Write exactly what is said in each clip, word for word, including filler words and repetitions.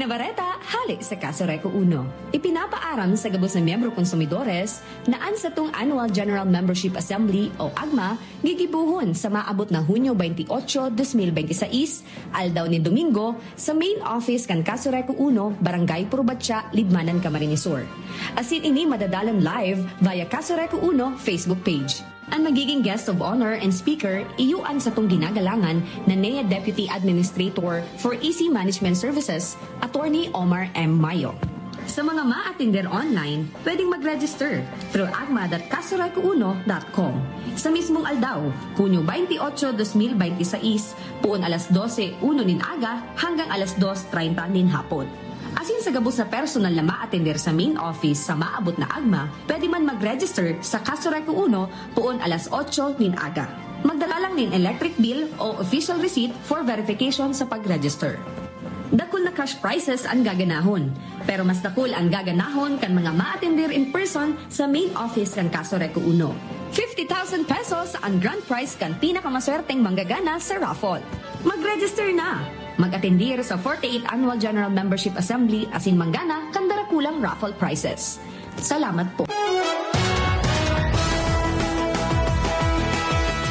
Bareta hale sa Kaso Reco Uno. Ipinapaaram sa gabos na miyembro konsumidores na an satong Annual General Membership Assembly o agma gigibohon sa maabot na Hunyo twenty-eight, twenty twenty-six, aldaw nin Domingo, sa main office kan Kaso Reco Uno, Barangay Purubatya, Libmanan, Camarines Sur. Asin ini madadalan live via Kaso Reco Uno Facebook page. An magiging guest of honor and speaker, iyo an satong ginagalangan na N E A Deputy Administrator for E C Management Services, Attorney Omar M. Mayo. Sa mga maatender online, pwedeng mag-register through agma dot kasoreco uno dot com. Sa mismong aldaw, Hunyo twenty-eight, twenty twenty-six, puon alas dose uno nin aga hanggang alas dos treinta nin hapon. Asin sa gabos na personal na maatender sa main office sa maabot na agma, pwede man mag-register sa Kaso Reco Uno puon alas otso nin aga. Magdala lang nin electric bill o official receipt for verification sa pag-register. Dakul na cash prizes ang gaganahon, pero mas dakul ang gaganahon kan mga maatender in person sa main office kan Kaso Reco Uno. Fifty thousand pesos ang grand prize kan pinakamaswerteng manggagana sa raffle. Mag-register na! Mag-atendir sa forty-eighth Annual General Membership Assembly asin manggana kan darakulang raffle prizes. Salamat po.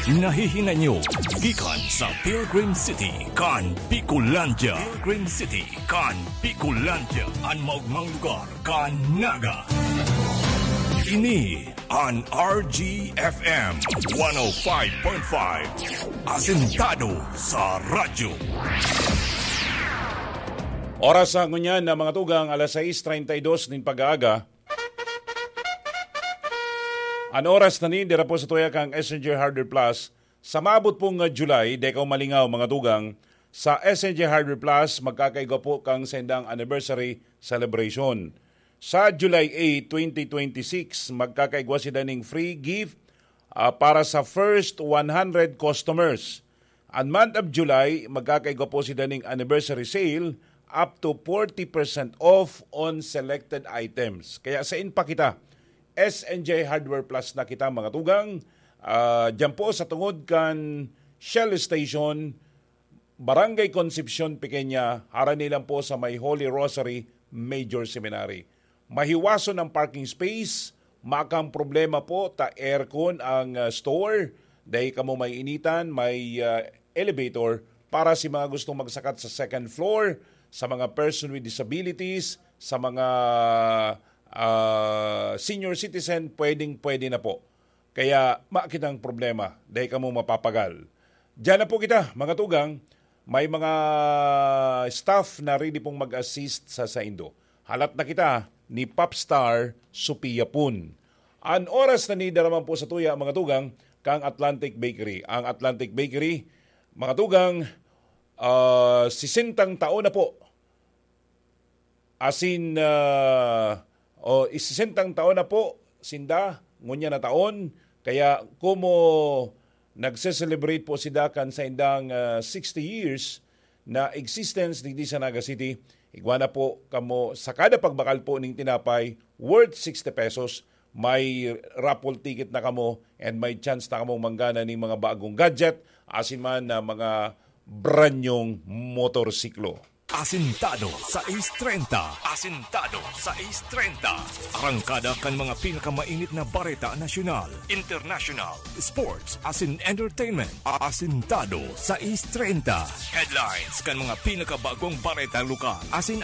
Nahihinay nyo gikan sa Pilgrim City kan Bicolandia. Pilgrim City kan Bicolandia, an maogmang lugar kan Naga. Ini an R G F M one oh five point five, asentado sa radyo. Oras sa ngunyan na mga tugang, alas sais treinta y dos nin pag-aaga. An oras na ni, dira po sa tuya kang S N J Hardware Plus. Sa maabot pong, ah, July, dai kaw malingaw, mga tugang, sa S N J Hardware Plus, magkakaigwa po kang sendang anniversary celebration. Sa July eight, twenty twenty-six, magkakaigwa sila ning free gift, ah, para sa first one hundred customers. An month of July, magkakaigwa po sila ning anniversary sale up to forty percent off on selected items. Kaya sain pa kita, S N J Hardware Plus na kita, mga tugang. Ah, diyan po sa tungod kan Shell Station, Barangay Concepcion, Pequeña, harani lang po sa may Holy Rosary Major Seminary. Mahiwason ang parking space, makang problema po ta aircon ang, ah, store, dai kamo maiinitan, may, ah, elevator para si mga gustong magsakat sa second floor, sa mga person with disabilities, sa mga, ah, senior citizen, pwedeng-pwede na po. Kaya makitang problema, dai kamo mapapagal. Diyan na po kita, mga tugang. May mga staff na ready pong mag-assist sa saindo. Halat na kita ni Popstar Sophia Pun. An oras na ni daraman po sa tuya, mga tugang, kang Atlantic Bakery. Ang Atlantic Bakery, mga tugang, ah, sisentang taon na po. Asin, ah, o, sisentang taon na po sinda, ngunyan na taon. Kaya komo nagse-celebrate po sinda kan saindang, ah, sixty years na existence digdi sa Naga City, igwa na po kamo sa kada pagbakal po ning tinapay worth sixty pesos, may raffle ticket na kamo and may chance na kamong manggana ning mga bagong gadget, asin man na mga branyong motorsiklo. Asintado sais treinta. Asintado sais treinta. Arangkada kan mga pinakamainit na bareta nasyonal, international, sports, asin entertainment. Asintado sais treinta. Headlines kan mga pinakabagong bareta lokal, asin